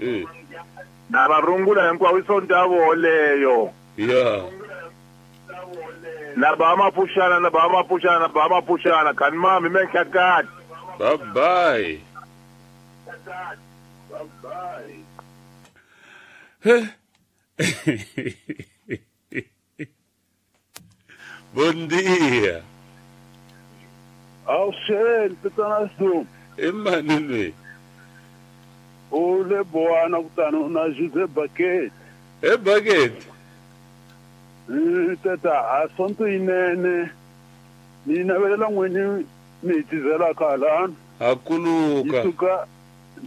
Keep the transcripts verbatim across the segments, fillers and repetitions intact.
Eh. Na va rungula hinkwavo i sonto ya voho leyo. Ya. Na ba mapuxana na ba mapuxana na ba mapuxana kan mami me nhlakati. Bye bye. He. Bom dia. Awusheli tatana Sum. I mani loyi? U le Bowana kutani na Jose Bucket. E Bucket. Tata a sonto yinene ni navelela n'wini mi hi tizelaka halano. Hakuluka. Yi suka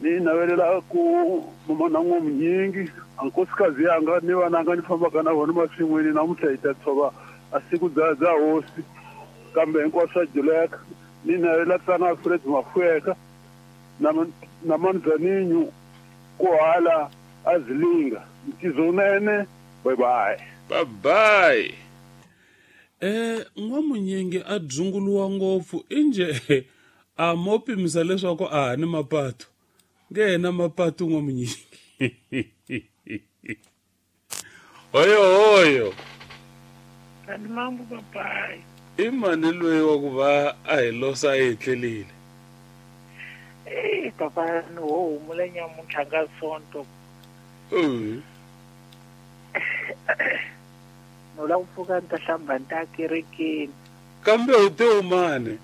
ni navelela ku mama na n'wamunyingi a nkosikazi yanga ni vananga ni fambaka na vona masin'wini namuntlha hi ta tshova a siku bya bya hosi kambe hinkwaswo swa juleka. Ni navelela tana Alfred Mafueka na na Manzaninho ku hala a Zilinga. Ntizonene, bye bye. Bye bye. Eh n'wamunyingi a dzunguluwa ngopfu inje a mo pimisa leswaku a ha ni mapatu nge na mapatu n'wamunyingi. Hoyo hoyo. Kani mambo papai. I mani loyi wa ku va a hi losa a hi tlelile? Eh papa ni ho humula nyamuntlha ka sonto. Eh. No la ku pfuka ni ta hlamba ni ta kerekeni. Kambe u te umane?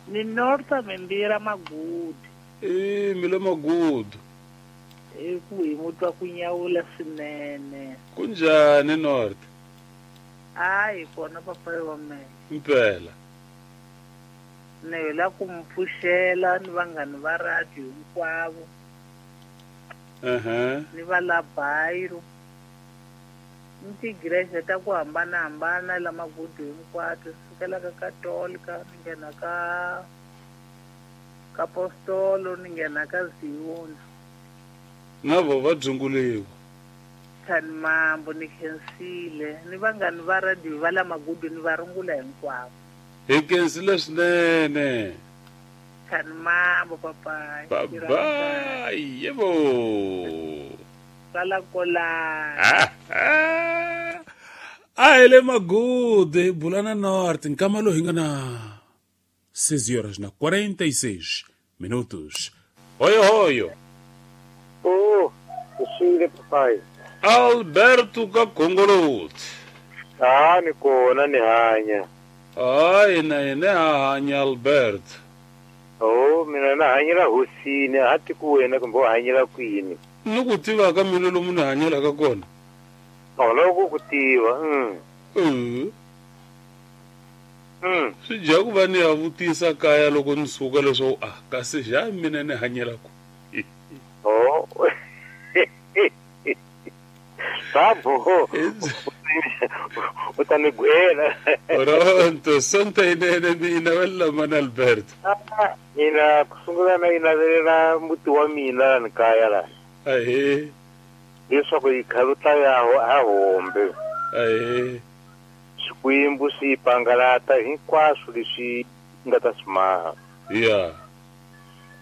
Ni norta mimbira Magudu. Eh mi le Magudu. I ku hi mutwa ku nyawula swinene. Kunjhani North? Hayi kona papai wa mina. Mpela. Ni hi la ku mi pfuxela ni vanghani va radio hinkwavo. Uh-huh. Ni va la Bayiro. Ni tigirese ta ku hambanahambana la Magudu hinkwato sukela ka Katolika ni nghena ka ka Apostolo ni nghena ka Zion. Na vo va dzunguliwa. Tani mambo ni khensile ni vanghani va radio va la Magudu ni va rungula hinkwavo. Hi khensile swinene. Tani mambo papai. Bye bye. Yebo. Sala kola. A hi le Magudu hi bula na North nkama lowu hi nga na seis horas na quarenta e seis minutos. Hoyo hoyo. Oh, usile papai. Alberto Kakongolot. Ah, ni kona ni hanya. Hayi na yena ha hanya Alberto. Oh, mina na hanyela hosini, a ti ku wena kumbe u hanyela kwini. Ni ku tiva ka mina lomu ni hanyelaka kona. Oh, loko ku tiva. Mm. Eh. Mm. Swi dya ku va ni ya vutisa kaya loko ni suka leswaku ah kasi xa mina ni hanyela ku. Oh. Sabo. U ta ni gwela. Pronto, sonta yinene mina wela mana Alberto. Mina ku sungula na yi navelela muti wa mina la ni kaya la. Ahee. Leswaku yi khaluta ya a hombe. Ahee. Xikwembu xi pangalata hinkwaswo leswi nga ta swi maha. Ya.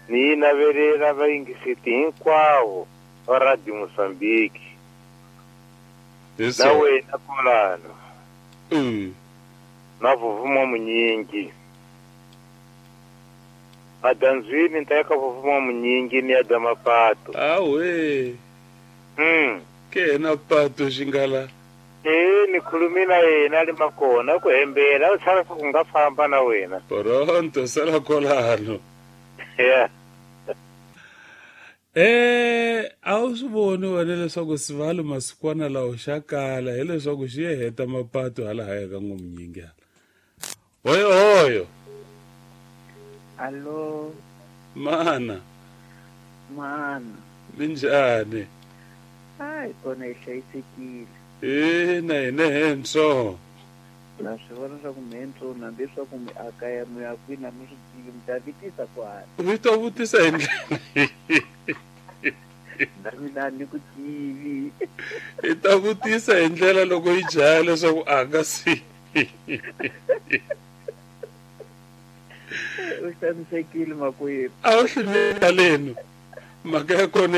Ni navelela vayingiseti hinkwavo va Radio Mozambique. Na wena kolano. Mm. Na vuvuma munyingi. Adanzwini ni ta ya ka vuvuma munyingi ni ya dya mapato. Awe. Mm. Ke na pato xingala. Eh ni khulume na yena le makona ku hembela u tshava ku nga famba na wena. Pronto sala kolano. Yeah. Eh a wu swi voni wena leswaku sivalo masikwana lawo xa kala hileswaku xi ye heta mapato hala haya ka n'wamunyingi hala. Hoyo hoyo. Allo. Mana. Mana. Minjhani? Hayi kona hi hlayisekile. Eh na hina henso. Na swi vona swa ku mihentso hambi swa ku mi akaya mi ya kwini a mi swi tivi mi ta vitisa kwala. Mi ta vutisa hi ndlela. Na mina ni ku tivi. Hi ta vutisa hi ndlela loko yi jaya leswaku a nga si. U xanisekile makwerhu. A wu hluleka leno. Mhaka ya kona